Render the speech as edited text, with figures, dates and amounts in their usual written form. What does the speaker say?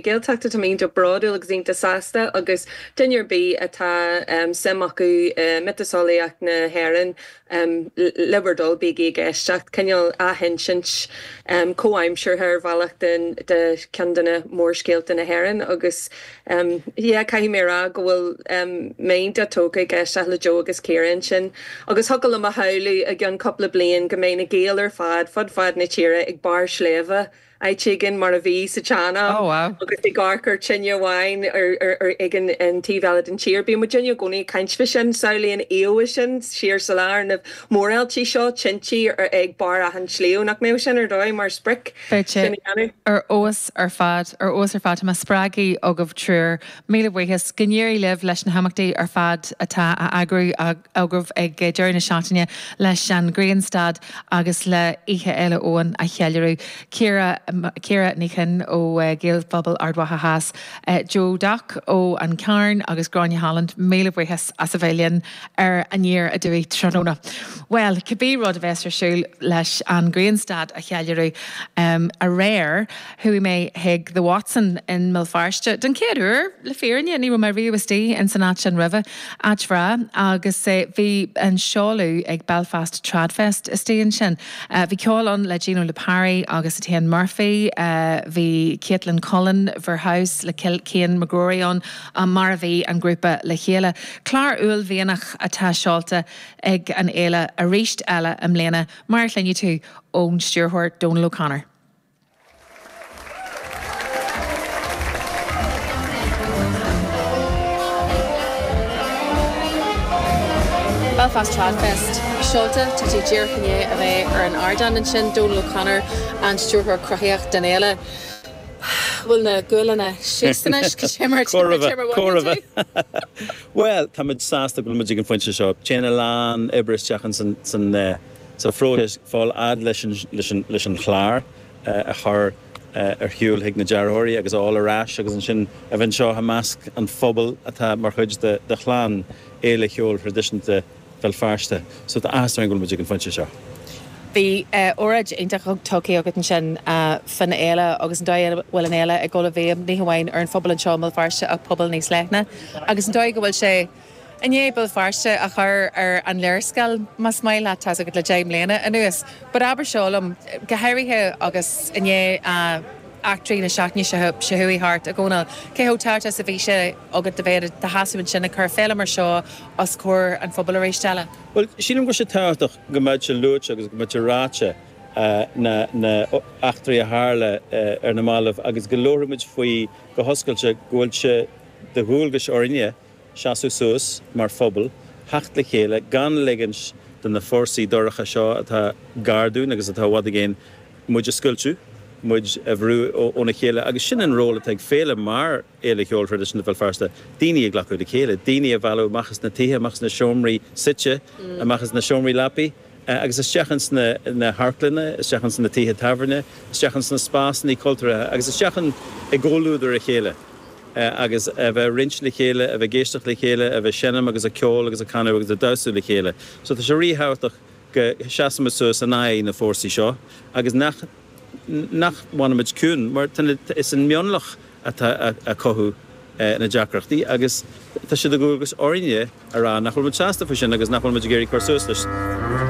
Gaeltachta. Tá mé iontach bródúil agus iontach sásta agus duine ar bith atá suim acu i miotaseolaíocht na hÉireann, le bhur dtoil bígí ag éisteacht. Cineál athinsint comhaimseartha ar bhealach de cheann de na mórscéalta na hÉireann agus yeah caithfidh mé a rá go bhfuil mé iontach tógtha ag éisteacht le Joe agus Ciara ansin agus thiocfadh liom a shamhlú i gceann cúpla bliain go mbeidh na Gaeil ar fad fud fad na tíre ag barr sléibhe áit éigin mar a bhí sa tsean-am Oh wow. agus ag amharc ar tine amháin ar ag an taobh eile den tír. Bíonn muidinne i gcónaí ag caint fá sin, samhlaigh an íomhá sin siar sa lá ar na mórfhéiltí seo, tintí ag barr achan sliabh, nach mbeadh sin ar dóigh mar sprioc Beidh sé sin a dhéanamh? ar fheabhas ar fad, ar fheabhas ar fad. Tá mé spreagtha agaibh triúr. Míle buíochas. Go n-éirí libh leis na himeachtaí ar fad atá á eagrú agaibh ag deireadh na seachtaine leis an Ghrianstad agus le Oíche Fhéile Eoin a cheiliúradh. Ciara, Ciara Ní Chuinn ó Ghaelphobal Ard Mhacha Theas, Joe Doc ó An Carn agus Gráinne Holland, míle buíochas as a bheith linn ar Aniar Aduaidh tráthnóna. Bhuel, cibé rud a bheas ar siúl leis an Ghrianstad a cheiliúradh aréir, Chuaigh mé chuig The Watson i mBéal Feirste den chéad uair, le fírinne. Ní raibh mé riamh istigh in san áit sin roimhe. Áit bhreá agus bhí an seoladh ag Belfast Tradfest istigh ansin. Bhí ceol ann le Gino Lipari agus Etienne Murphy, bhí Caitlin Cullen, Verhouse le Cian McGrory ann, mar a bhí an grúpa le chéile. Clár uaillmhianach atá seolta ag an fhéile arís eile i mbliana, mar a chluinfidh tú ón stiúrthóir Donal O'Connor. Belfast Tradfest seolta, tá tú díreach i ndiaidh a bheith ar an ardán ansin, Donal O'Connor, an Stiúrthóir Cruthaitheach den fhéile. Bhfuil na guailleanna síos anois? Cad é mar Chóir a bheith, a chóir a mhothaíonn tú? bheith. Bhuel, tá muid sásta go bhfuil muid ag an phointe seo. Téann a lán oibre isteach in san sa phróiseas fáil fhad leis an leis an chlár a chur ar shiúl chuig na dearthóirí agus a fháil ar ais agus ansin a bheith anseo i measc an phobail atá mar chuid de chlann Fhéile Cheoil Thraidisiúnta Bhéal Feirste. So tá áthas orainn go bhfuil muid ag an phointe seo. Bhí óráid iontach tugtha agat ansin fán fhéile agus an dóigh a bhfuil an fhéile ag dul i bhfeidhm ní hamháin ar an phobal anseo i mBéal Feirste ach pobal níos leithne agus an dóigh go bhfuil sé i ndiaidh Béal Feirste a chur ar an léarscáil, más maith leat, tá's agat, le 10 mbliana anuas. But abair seo liom, go háirithe agus i ndiaidh eachtraí na seachtaine seo chuaigh thart, a Dhónaill, cé chomh tábhachtach is a bhí sé agat a bheith i do sheasamh ansin ag cur féile mar seo os comhair an phobail arís eile? Bhuel, sílim go bhfuil sé tábhachtach go mbeadh sé luaite agus go mbeadh sé ráite na na eachtraí a tharla ar na mallaibh agus go labharfaidh muid faoi go hoscailte go bhfuil sé de dhualgais orainne seasamh suas mar phobal, theacht le chéile, gan ligint do na fórsaí dorcha seo atá gar dúinn agus atá i bhfad i gcéin muid a scoilteadh, muid a bhrú óna chéile. Agus sin an ról atá ag féile mar Fhéile Cheoil Thraidisiúnta Bhéal Feirste, daoine a ghlacadh le chéile, daoine a mhealladh amach as na tithe, amach as na seomraí suite, amach as na seomraí leapaí agus isteach ins na hamharclanna, isteach ins na tithe tábhairne, isteach ins na spásanna cultúrtha agus isteach i gcomhluadar a chéile. agus a bheith ag roinnt le chéile, a bheith ag éisteacht le chéile, a bheith ag seinm agus ag ceol agus ag canadh agus ag damhsú le chéile. So tá sé ríthábhachtach go seasaimid suas in aghaidh na fórsaí seo agus nach nach bhfanaimid ciúin mar tá na is an mionlach atá ag cothú na deacrachtaí agus tá sé de dhualgas orainne a rá nach bhfuil muid sásta faoi sin agus nach bhfuil muid ag iarraidh cur suas leis.